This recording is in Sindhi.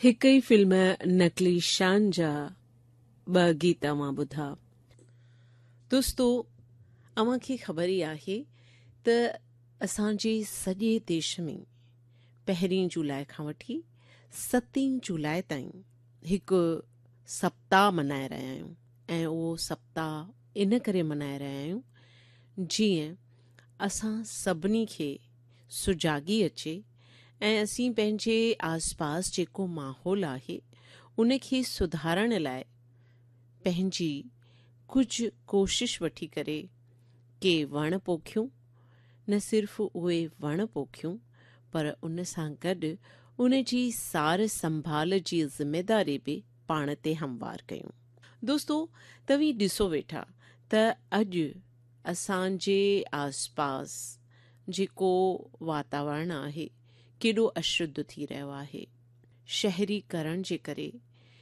هڪ ئي فلم نقلي شان جا ٻه گيت اوهان ٻڌا. دوستو اوهان کي خبر ئي آهي ته اسان جي سڄي ديش ۾ پهرين جولاء کان وٺي ستين جولاء تائين هڪ سپتاهه ملهائي رهيا آهيون ۽ اهو سپتاهه ان ڪري ملهائي رهيا آهيون جيئن اسان سڀني کي سجاڳي اچي ۽ اسين پنهنجي آسپاس جيڪو ماحول آهي ان کي سڌارڻ لاء پنهنجي ڪجهه ڪوشش وٺي ڪري ڪي وڻ پوکيون نه صرف اهي وڻ پوکيون پر ان سان گڏ ان جي سار سنڀال جي ذميداري به پاڻ تي هموار ڪيون. دوستو توهين ڏسو ويٺا ته اڄ اسان جي آسپاس جيڪو واتاورڻ آهي ڪيڏو اشڌ ٿي رهيو آهي. شهري ڪرڻ جي ڪري